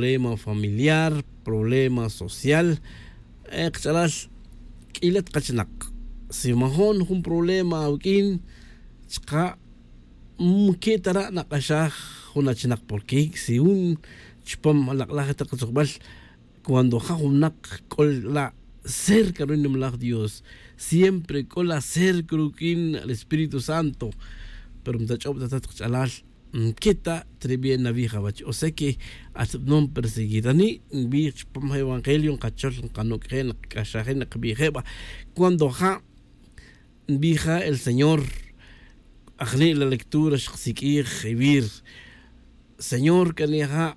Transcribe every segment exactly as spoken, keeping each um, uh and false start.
problema familiar, problema social. Kach'alal, q'uila' ta kachinak, si majo'n jun problema awuq'uin chka' mque' tara' nak'axaj jun achinak, porque si jun chupam lak'laj tak katzujbal, cuando ja' jun winak c'o la' cerca ruwach nimalaj dios, siempre c'o la' cerca ruq'uin al espíritu santo. Pero mtach'ob ta tat kach'alal, mque' ta tribien nawij awach, o sea que atbanon perseguir ani' nwij chupam ja' evangelio nkachol nkanuc'je' nkac'axaje' nkbije' ba. Cuando ja' nbij ja' el señor, ajni' la lectura xkasiq'uij ewir, señor c'a ni ja'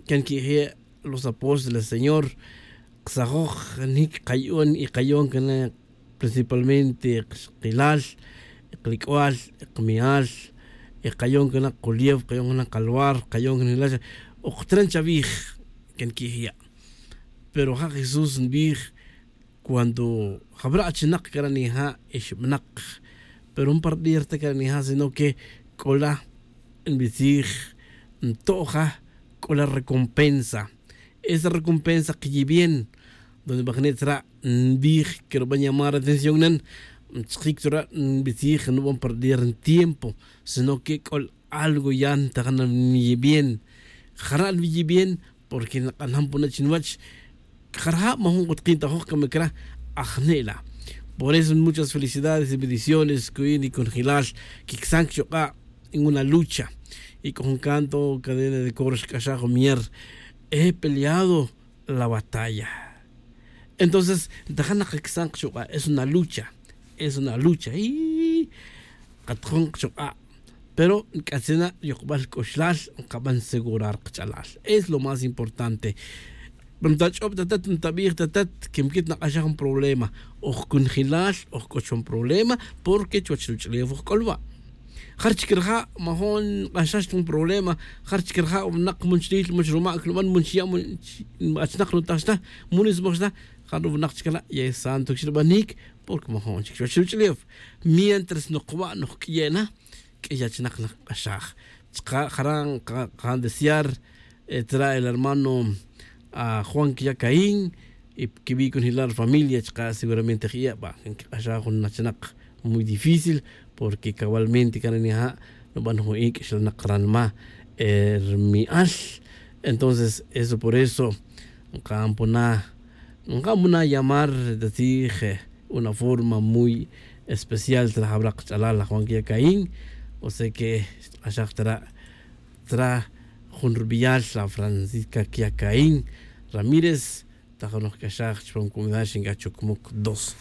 can qui'je' los apóstoles señor, ksajoj nic kayo'n y kayo'n cana principalmente kxkilal, klic'ual, kmi'al, kayo'n cana kuliew, kayo'n cana kalwar, kayo'n cana jilal. Oktran chavij can qui'je' ya'. Pero ja' jesús nbij, cuando jabra' achinak cana nija' ixbanak, pero jun par día rta cana nija' sino que c'o la nbitzij, nto'ja c'o la recompensa. Esa recompensa kiyibien donde bajni' tzra' nbij que ruban llamar atención nan, nchkik tzra' nbitzij nuban par día ntiempo, sino que c'o algo ya ntajan niyibien. Jara' niyibien porque nk'anam puna' chi nwach. Jara' ja' majun k'o tkintajoj cama cra. Ajni' la. Por eso muchas felicidades y bendiciones cuyin y cunjelal quicsan cachuk'a' en una lucha. Y c'o jun canto cadena de coro xc'axaj jun mier, he peleado la batalla. Entonces ntajan nak kicsan kachuk'a' es una lucha. Es una lucha y katjon kachuk'a'. Pero nc'atzin na yokbal c'uxlal nkaban segurar kach'alal, es lo más importante. Pero ntach'ob ta tat ntabij ta tat que mquit nak'axaj jun problema, oj cunjelal oj c'o chon problema. Porque chuwech ruch'ulef oj c'o lwa'. Jare' chic raja' majo'n nk'axax ta jun problema. Jare' chic raja' winak mun chril mun chrumac nuban mun chiya' mun achinak nutax ta, mun nismoj ta. Jare' winak chic la' ya santo chic rubanic. Porque majo'n chic chuwech ruch'ulef mientras nokwa' nokq'uiye' na, q'uiy achinak nk'axaj. Chka' jara' nkajan desear tzra' el hermano juan quiya' caín, y quibi' cunjelal familia chka' seguramente je' ya' ba nquik'axaj jun achinak muy difícil. Porque cabalmente cana nija' nuban jun ic' xlanak ranma' rmi'al. Entonces eso por eso nkaban puna' nkaban puna' llamar ta tzij una forma muy especial tzra' jabra' kach'alal la juan quiya' caín. O sea que xtk'axaj tzra' tzra' jun rubial la francisca quiya' caín ramírez. Tajan noj c'axaj chupam comunidad xinc'aj chucmuc dos.